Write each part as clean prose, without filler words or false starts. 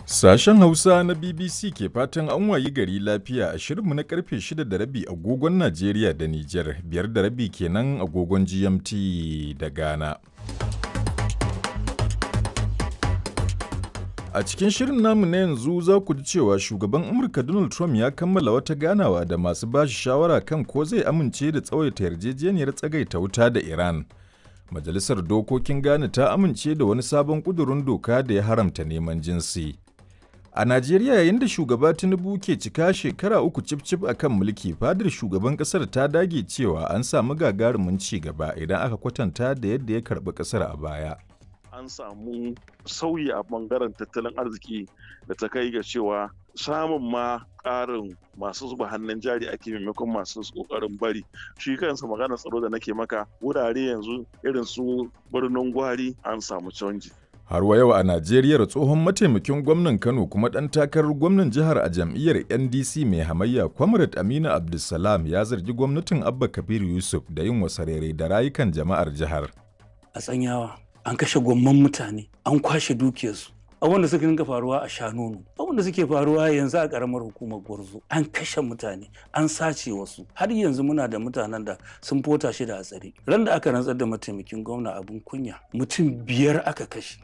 Sashen Hausa na BBC ke fatan an wayi gari lafiya a shirinmu na karfe 6:30 agogon Najeriya da Nijar, 5:30 kenan agogon GMT da Ghana. A cikin shirin namu na yanzu za ku ji cewa shugaban Amurka Donald Trump ya kammala wata ganawa da masu bashi shawara kan ko zai amince da tsawaita yarjejeniyar tsagaita wuta da Iran. Majalisar Dokokin Ghana ta amince da wani sabon ƙudurin doka da ya haramta neman jinsi. A Najeriya, yayin da shugaba Tinubu ke cika shekara 3 cif-cif a kan mulki, fadar shugaban ƙasar ta dage cewa an samu gagarumin ci gaba idan aka kwatanta da yadda ya karɓi ƙasar a baya. An samu sauyi a bangaren tattalin arziki da ta kai ga cewa samun ma ƙarin masu zuba hannun jari ake maimakon masu ƙoƙarin bari. Shi kansa maganar tsaro da nake maka, wurare yanzu irin su Birnin Gwari an samu canji. Har wa yau a Najeriya, tsohon mataimakin gwamnan Kano kuma ɗan takarar gwamnan jihar a jam'iyyar NDC mai hamayya, Comrade Aminu Abdulsalam, ya zargi gwamnatin Abba Kabir Yusuf da yin wasarere da rayukan jama'ar jihar. A Tsanyawa an kashe gwamman mutane, an kwashe dukiyarsu. Abin da suka dinga faruwa a Shanonu, abin da suke faruwa yanzu a karamar hukumar Gwarzo, an kashe mutane, an sace wasu. Har yanzu muna da mutanen da sun fota shi da hatsari. Ran da aka rantsar da mataimakin gwamna, abin kunya, mutum 5 aka kashe.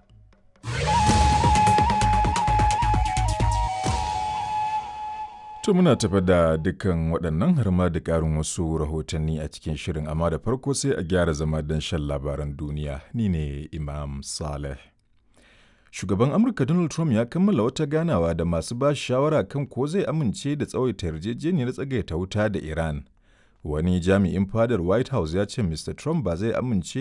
To muna tafa da dukkan waɗannan har ma da ƙarin wasu rahotanni a cikin shirin, amma da farko sai a gyara zama don shan labaran duniya. Ni ne Imam Saleh. Shugaban Amurka Donald Trump ya kammala wata ganawa da masu ba shawara kan ko zai amince da tsawaita yarjejeniyar tsagaita wuta da Iran. Wani jami'in fadar White House ya ce Mr. Trump ba zai amince